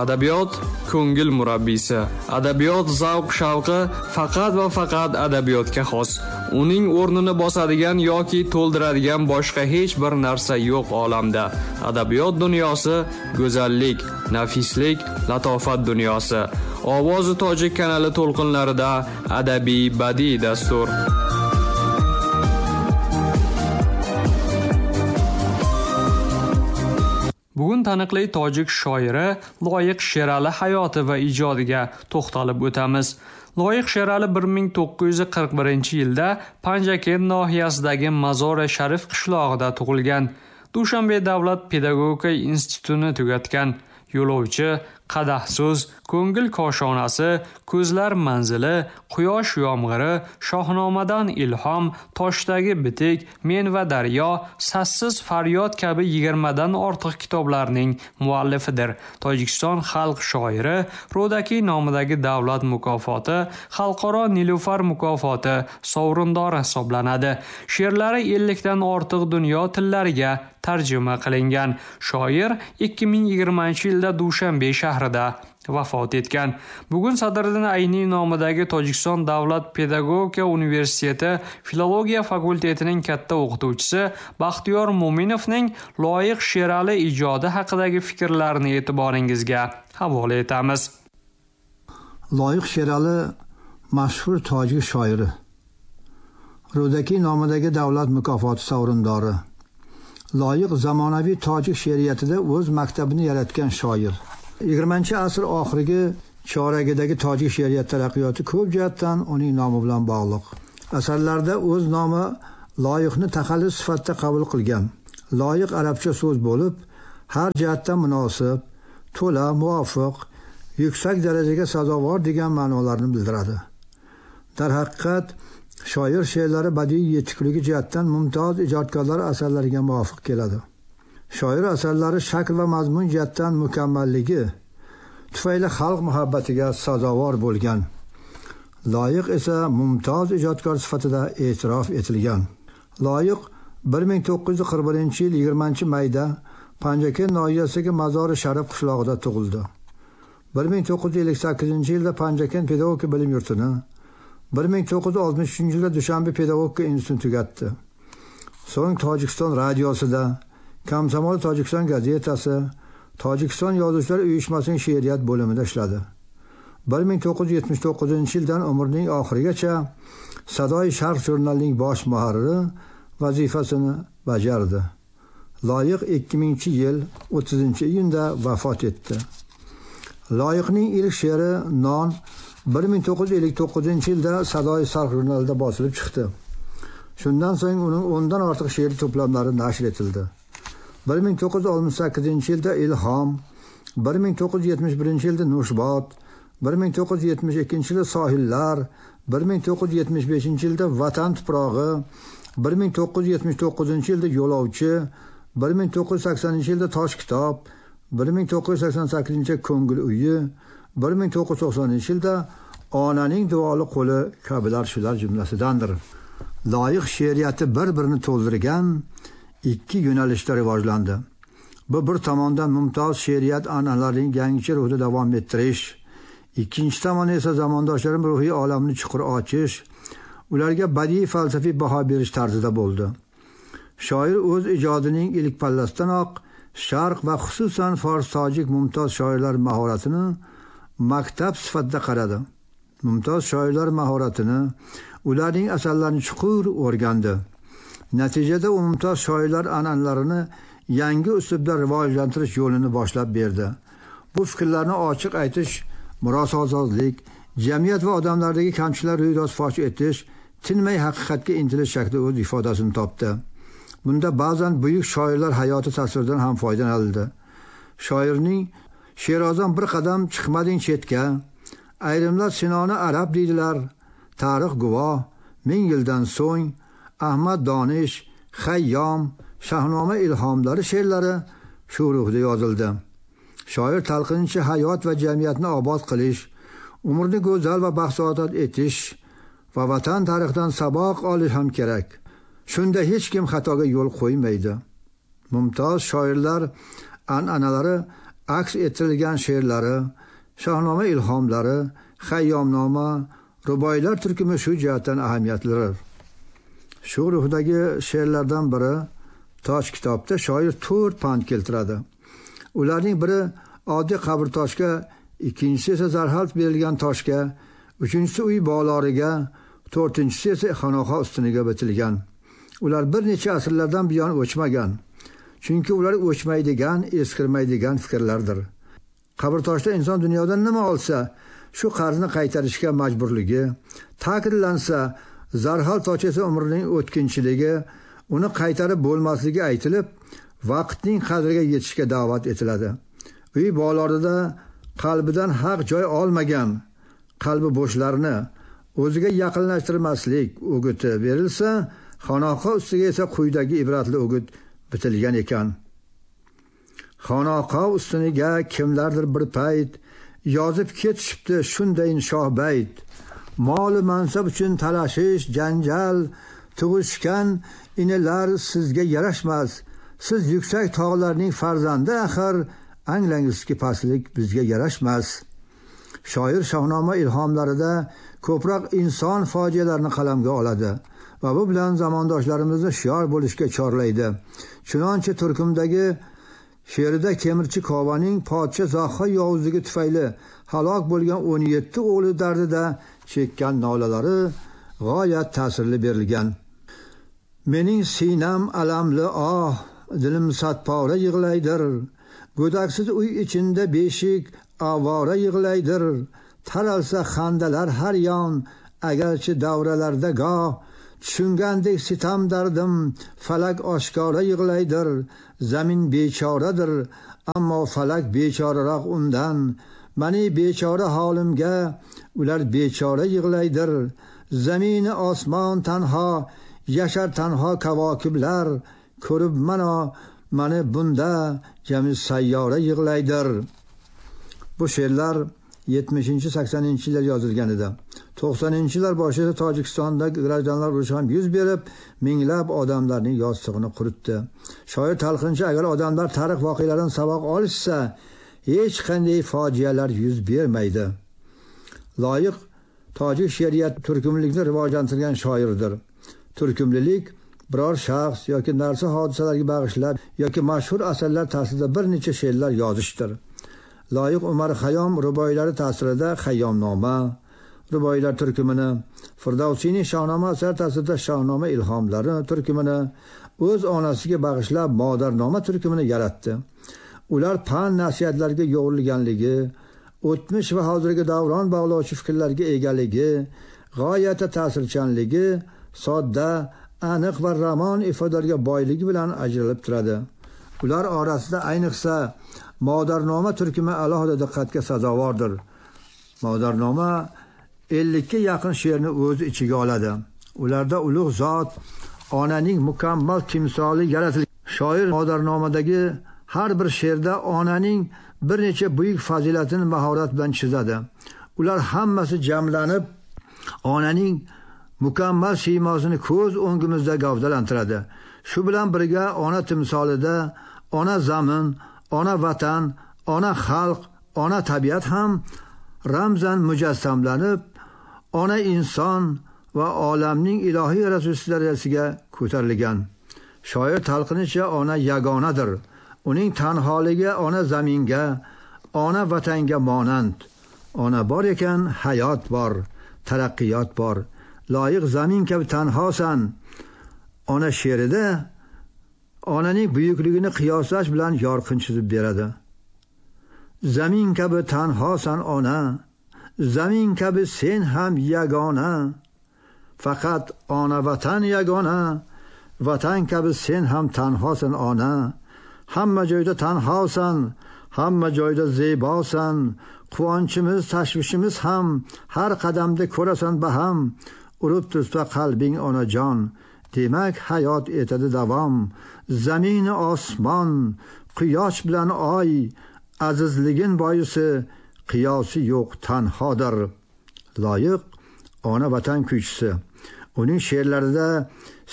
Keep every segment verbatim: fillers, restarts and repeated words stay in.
Adabiyot ko'ngil murabbiysi. Adabiyot zavq shavqi faqat va faqat adabiyotga xos. Uning o'rnini bosadigan yoki to'ldiradigan boshqa hech bir narsa yo'q olamda. Adabiyot dunyosi go'zallik, nafislik, latofat dunyosi. Ovozi Tojik kanali to'lqinlarida adabiy badiiy dastur. Bugun taniqli tojik shoiri Loyiq Sherali hayoti va ijodiga to'xtalib o'tamiz. Loyiq Sherali bir ming to'qqiz yuz qirq birinchi yilda Panjakent nohiyasidagi Mazori Sharif qishlog'ida tug'ilgan. Dushanbe davlat pedagogika institutini tugatgan. Yo'lovchi, Qadahso'z, Ko'ngil koshonasi, Ko'zlar manzili, Quyosh yomg'iri, Shohnomadan ilhom, Toshdagi bitik, Men va daryo, Sassiz faryod kabi yigirmadan ortiq kitoblarning muallifidir. Tojikiston xalq shoiri, Ro'dakiy nomidagi davlat mukofoti, Xalqaro Nilufar mukofoti sovrindori hisoblanadi. She'rlari ellikdan ortiq dunyo tillariga tarjima qilingan. Shoir ikki ming yigirmanchi yilda Dushanbe shahrida vafot etgan. Bugun Sadriddin Ayniy nomidagi Tojikiston davlat pedagogika universiteti filologiya fakultetining katta o'qituvchisi Baxtiyor Mo'minovning Loyiq Sherali ijodi haqidagi fikrlarini e'tiboringizga havola etamiz. Loyiq Sherali mashhur tojik shoiri, Ro'dakiy nomidagi davlat mukofoti sovrindori. Loyiq zamonaviy tojik she'riyatida o'z maktabini yaratgan shoir. yigirmanchi asr oxirgi choragidagi tojik she'riyat taraqqiyoti ko'p jihatdan uning nomi bilan bog'liq. Asarlarda o'z nomi Loyiqni taxallus sifatida qabul qilgan. Loyiq arabcha so'z bo'lib, har jihatdan munosib, to'la, muvofiq, yuksak darajaga sazovor degan ma'nolarni bildiradi. Darhaqiqat, shoir she'rlari badiiy yetikligi jihatdan mumtoz ijodkorlar asarlariga muvofiq keladi. Shoir asarlari shakl va mazmun jihatdan mukammalligi tufayli xalq muhabbatiga sazovor bo'lgan. Loyiq esa mumtoz ijodkor sifatida e'tirof etilgan. Loyiq bir ming to'qqiz yuz qirq birinchi yil yigirmanchi mayda Panjakent nohiyasidagi Mazori Sharif qishlog'ida tug'ildi. bir ming to'qqiz yuz ellik sakkizinchi yilda Panjakent pedagogika bilim yurtini, bir ming to'qqiz yuz oltmish uchinchi yilda Dushanbe pedagogika institutini tugatdi. So'ng Tojikiston radiosida, Komsomol Tojikiston gazetasi, Tojikiston yozuvchilar uyushmasining she'riyat bo'limida ishladi. bir ming to'qqiz yuz yetmish to'qqizinchi yildan umrining oxirigacha Sadoi Sharq jurnalining bosh muharriri vazifasini bajardi. Loyiq ikki minginchi yil o'ttizinchi iyunda vafot etdi. Loyiqning ilk she'ri Non bir ming to'qqiz yuz ellik to'qqizinchi yilda Sadoi Sharq jurnalida bosilib chiqdi. Shundan so'ng uning o'ndan ortiq she'r to'plamlari nashr etildi. bir ming to'qqiz yuz oltmish sakkizinchi yilda Ilhom, bir ming to'qqiz yuz yetmish birinchi yilda Nushbot, bir ming to'qqiz yuz yetmish ikkinchi yilda Sohillar, bir ming to'qqiz yuz yetmish beshinchi yilda Vatan tuprog'i, bir ming to'qqiz yuz yetmish to'qqizinchi yilda Yo'lovchi, bir ming to'qqiz yuz saksoninchi yilda Tosh kitob, bir ming to'qqiz yuz sakson sakkizinchi yilda Ko'ngil uyi, bir ming to'qqiz yuz to'qsoninchi yilda Onaning duoli qo'li kabilar shular jumlasidandir. Loyiq she'riyati bir-birini to'ldirgan ikki yo'nalishda rivojlandi. Bu bir tomondan mumtoz she'riyat an'analarining yangicha ruhda davom ettirish, ikkinchi tomon esa zamondoshlarning ruhiy olamini chuqur ochish, ularga badiiy falsafiy baho berish tarzida bo'ldi. Shoir o'z ijodining ilk pallasidanoq Sharq va xususan fors tojik mumtoz shoirlar mahoratini maktab sifatida qaradi. Mumtoz shoirlar mahoratini, ularning asarlarini chuqur o'rgandi. Natijada u mumtoz shoirlar an'analarini yangi uslubda rivojlantirish yo'lini boshlab berdi. Bu fikrlarni ochiq aytish, murososozlik, jamiyat va odamlardagi kamchiliklar ro'yrost fosh etish, tinmay haqiqatga intilish shaklida o'z ifodasini topdi. Bunda ba'zan buyuk shoirlar hayoti tasviridan ham foydalanildi. Shoirning Sherozdan bir qadam chiqmading chetga, ayrimlar Sinoni arab deydilar, tarix guvoh, ming yildan so'ng, Ahmad Donish, Xayyom, Shahnoma ilhomlari she'rlari shu ruhda yozildi. Shoir talqinchi hayot va jamiyatni obod qilish, umrni go'zal va baxtsaodat etish va vatan tarixidan saboq olish ham kerak. Shunda hech kim xatoga yo'l qo'ymaydi. Mumtoz shoirlar an'analari aks ettirilgan she'rlari, Shohnoma ilhomlari, Xayyomnoma, ruboiylar turkumi shu jihatdan ahamiyatlidir. Shu ruhdagi she'rlardan biri Tosh kitobda shoir to'rt pand keltiradi. Ularning biri oddiy qabr toshga, ikkinchisi esa zarhal berilgan toshga, uchinchisi uy boloriga, to'rtinchisi esa xanoha ustuniga bitilgan. Ular bir necha asrlardan buyon o'chmagan. Chunki ular o'chmaydigan, eskirmaydigan fikrlardir. Qabr toshda inson dunyodan nima olsa, shu qarzni qaytarishga majburligi, ta'kidlansa, zarhal tosh esa umrining o'tkinchiligi, uni qaytarib bo'lmasligi aytilib, vaqtning qadriga yetishga da'vat etiladi. Uy bolorida qalbidan haq joy olmagan qalbi bo'shlarni o'ziga yaqinlashtirmaslik o'giti berilsa, xanoqa ustiga esa quyidagi ibratli o'git bitilgan ekan. Xanoqa ustuniga kimlardir bir payt yozib ketishibdi shundayin shohbayt. Mol mansab uchun talashish, janjal tug'ishgan inilar sizga yarashmas. Siz yuksak tog'larning farzandi axir, anglangizki pastlik bizga yarashmas. Shoir Shohnoma ilhomlarida ko'proq inson fojialarini qalamga oladi va bu bilan zamondoshlarimizni shior bo'lishga chorlaydi. Chunonchi turkumdagi she'rida temirchi Kovaning podsho Zohha yovuzligi tufayli halok bo'lgan o'n yetti o'g'li dardida chekkan nolalari g'oyat ta'sirli berilgan. Mening sinam alamli oh, dilim satpora yig'laydir. Go'daksiz uy ichinda beshik avora yig'laydir. Taralsa xandalar har yon, agarchi davralarda goh tushungandek sitam dardim, falak oshkora yig'laydir. Zamin bechoradir, ammo falak bechoraroq undan. Mani bechora holimga ular bechora yig'laydir. Zamini osmon tanho, yashar tanho kavokiblar, ko'rib mana mani bunda jami sayyora yig'laydir. Bu she'rlar yetmishinchi saksoninchi yillar yozilgan edi. to'qsoninchi yillar boshida Tojikistonda grajdanlar urushi ham yuz berib, minglab odamlarning yostig'ini quritdi. Shoir talqinchi agar odamlar tarix voqealaridan saboq olishsa, hech qanday fojialar yuz bermaydi. Loyiq tojik she'riyat turkumlikni rivojlantirgan shoirdir. Turkumlilik biror shaxs yoki narsa hodisalarga bag'ishlab yoki mashhur asarlar ta'sirida bir necha she'rlar yozishdir. Loyiq Umar Xayyom ruboiylari ta'sirida Xayyomnoma ruboiylar turkumini, Firdavsiyning Shohnoma asari ta'sirida Shohnoma ilhomlari turkumini, o'z onasiga bag'ishlab Modarnoma turkumini yaratdi. Ular pand nasihatlarga yo'g'rilganligi, o'tmish va hozirgi davron bog'lovchi fikrlarga egaligi, g'oyatda ta'sirchanligi, sodda, aniq va ramon ifodalarga boyligi bilan ajralib turadi. Ular orasida ayniqsa Modarnoma turkumi alohida diqqatga sazovordir. Modarnoma ellikka yaqin she'rni o'z ichiga oladi. Ularda ulug' zot onaning mukammal timsoli yaratilgan. Shoir Modarnomadagi har bir she'rda onaning bir necha buyuk fazilatini mahorat bilan chizadi. Ular hammasi jamlanib onaning mukammal siymosini ko'z o'ngimizda gavdalantiradi. Shu bilan birga ona timsolida ona zamin, ona vatan, ona xalq, ona tabiat ham ramzan mujassamlanib, ona inson va olamning ilohiy yaratuvchisi darajasiga ko'tarilgan. Shoir talqinicha ona yagonadir. Uning tanholigi ona zaminga, ona vatanga monand. Ona bor ekan hayot bor, taraqqiyot bor. Loyiq zamin kabi tanhosan. Ona she'rida onaning buyukligini qiyoslash bilan yorqin chizib beradi. Zamin kabi tanhosan ona, zamin kabi sen ham yagona. Faqat ona vatan yagona, vatan kabi sen ham tanhosan ona. Hamma joyda tanhosan, hamma joyda zebosan. Quvonchimiz, tashvishimiz ham har qadamda ko'rasan baham. Urib tursa qalbing onajon, demak hayot etadi davom. Zamin osmon, quyosh bilan oy, azizligin boisi qiyosi yo'q tanhodir. Loyiq ona vatan kuychisi. Uning she'rlarida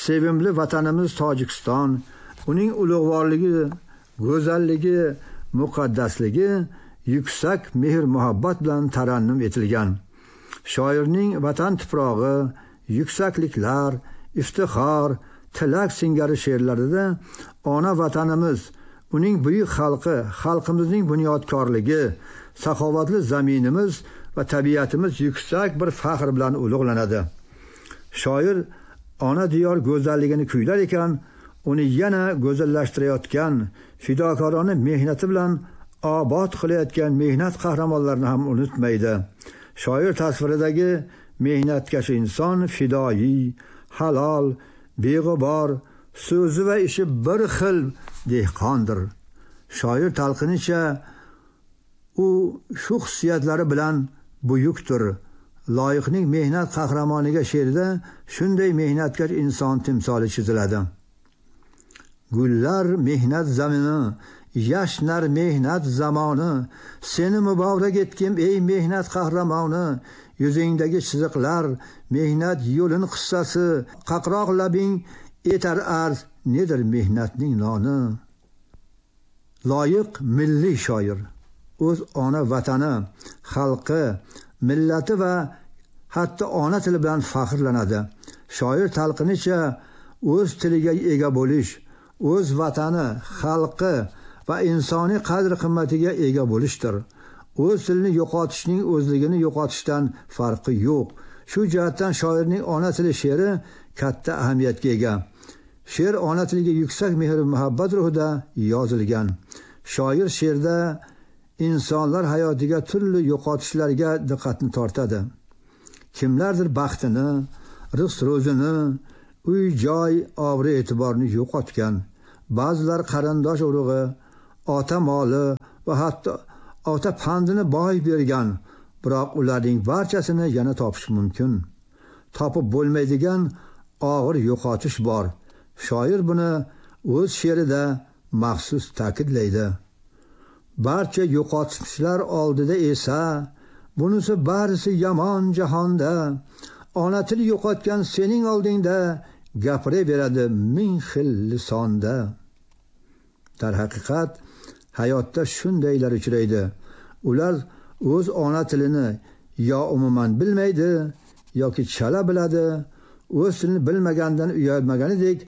sevimli vatanimiz Tojikiston, uning ulug'vorligi, go'zalligi Muqaddasligi yuksak mehr-muhabbat bilan tarannum etilgan. Shoirning vatan tuprog'i, yuksakliklar, iftixor, tilak singari she'rlarida ona vatanimiz, uning buyuk xalqi, xalqimizning bunyodkorligi, saxovatli zaminimiz va tabiatimiz yuksak bir faxr bilan ulug'lanadi. Shoir ona diyor go'zalligini kuylar ekan, uni yana go'zallashtirayotgan, fidokorona mehnati bilan obod qilayotgan mehnat qahramonlarini ham unutmaydi. Shoir tasviridagi mehnatkash inson fidoyi, halol, beg'ubor, so'zi va ishi bir xil dehqondir. Shoir talqinicha u shu xususiyatlari bilan buyukdir. Loyiqning mehnat qahramoniga she'rida shunday mehnatkash inson timsoli chiziladi. Gullar mehnat zamini, yashnar mehnat zamoni, seni muborak etkim ey mehnat qahramoni. Yuzingdagi chiziqlar mehnat yo'lin qissasi, qaqroq labing etar arz nedir mehnatning noni. Loyiq milliy shoir, o'z ona vatani, xalqi, millati va hatto ona tili bilan faxrlanadi. Shoir talqinicha o'z tiliga ega bo'lish, o'z vatani, xalqi va insoniy qadr-qimmatiga ega bo'lishdir. O'z tilini yo'qotishning o'zligini yo'qotishdan farqi yo'q. Shu jihatdan shoirning ona tili she'ri katta ahamiyatga ega. She'r ona tiliga yuksak mehr-muhabbat ruhida yozilgan. Shoir she'rda insonlar hayotiga turli yo'qotishlarga diqqatni tortadi. Kimlardir baxtini, rizq ro'zini, uy-joy, obro'-e'tiborni yo'qotgan. Ba'zilar qarindosh urug'i, ota moli va hatto ota pandini boy bergan. Biroq ularning barchasini yana topish mumkin. Topib bo'lmaydigan og'ir yo'qotish bor. Shoir buni o'z she'rida maxsus ta'kidlaydi. Barcha yo'qotishlar oldida esa bunisi barisi yomon jahonda. Ona til yo'qotgan sening oldingda gapiraveradi ming xil lisonda. Darhaqiqat hayotda shundaylar uchraydi. Ular o'z ona tilini yo umuman bilmaydi yoki chala biladi. O'z tilini bilmagandan uyalmaganidek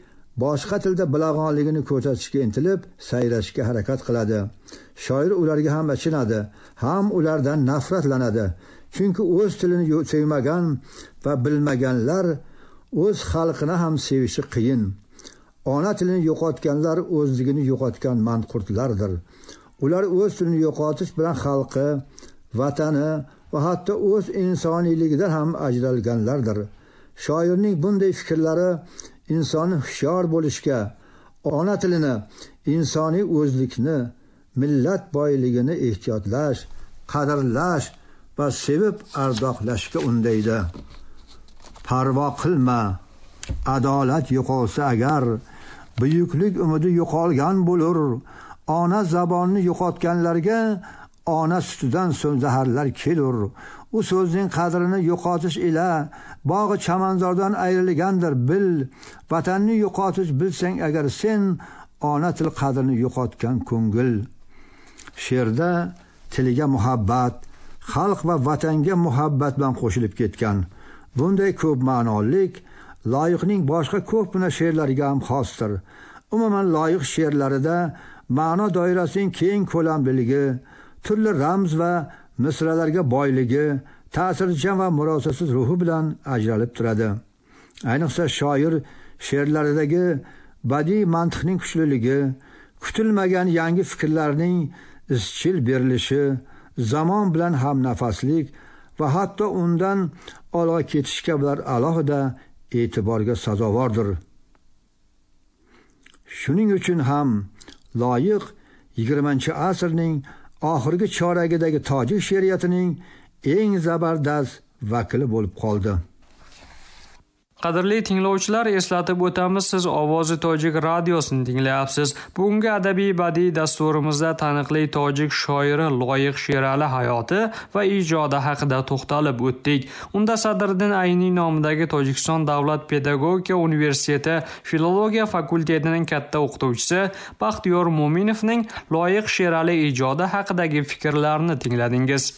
boshqa tilda bilag'onligini ko'rsatishga intilib, sayrashga harakat qiladi. Shoir ularga ham achinadi, ham ulardan nafratlanadi. Chunki o'z tilini sevmagan va bilmaganlar o'z xalqini ham sevishi qiyin. Ona tilini yo'qotganlar o'zligini yo'qotgan manqurtlardir. Ular o'z tilini yo'qotish bilan xalqi, vatani va hatto o'z insoniyligidan ham ajralganlardir. Shoirning bunday fikrlari insonni hushyor bo'lishga, ona tilini, insoniy o'zlikni, millat boyligini ehtiyotlash, qadrlash va sevib ardoqlashga undaydi. Parvo qilma, adolat yo'qolsa agar, buyuklik umidi yo'qolgan bo'lur. Ona zabonni yo'qotganlarga ona sutidan so'ng zaharlar kelur. U so'zning qadrini yo'qotish ila bog'i chamanzordan ayrilgandir bil. Vatanni yo'qotish bilsang agar sen, ona til qadrini yo'qotgan ko'ngil. She'rda tiliga muhabbat, xalq va vatanga muhabbat bilan qo'shilib ketgan. Bunday ko'p ma'nolik Loyiqning boshqa ko'pgina she'rlariga ham xosdir. Umuman Loyiq she'rlarida ma'no doirasining keng ko'lamliligi, turli ramz va misralarga boyligi, ta'sirchan va murosasiz ruhi bilan ajralib turadi. Ayniqsa shoir she'rlaridagi badiiy mantiqning kuchliligi, kutilmagan yangi fikrlarning izchil berilishi, zamon bilan hamnafaslik va hatto undan olg'a ketish kabilar alohida e'tiborga sazovordir. Shuning uchun ham Loyiq yigirmanchi asrning oxirgi choragidagi tojik she'riyatining eng zabardast vakili bo'lib qoldi. Qadrli tinglovchilar, eslatib o'tamiz, siz Ovozi Tojik radiosini tinglayapsiz. Bugungi adabiy badiiy dasturimizda taniqli tojik shoiri Loyiq Sherali hayoti va ijodi haqida to'xtalib o'tdik. Unda Sadriddin Ayniy nomidagi Tojikiston davlat pedagogika universiteti filologiya fakultetining katta o'qituvchisi Baxtiyor Mo'minovning Loyiq Sherali ijodi haqidagi fikrlarini tingladingiz.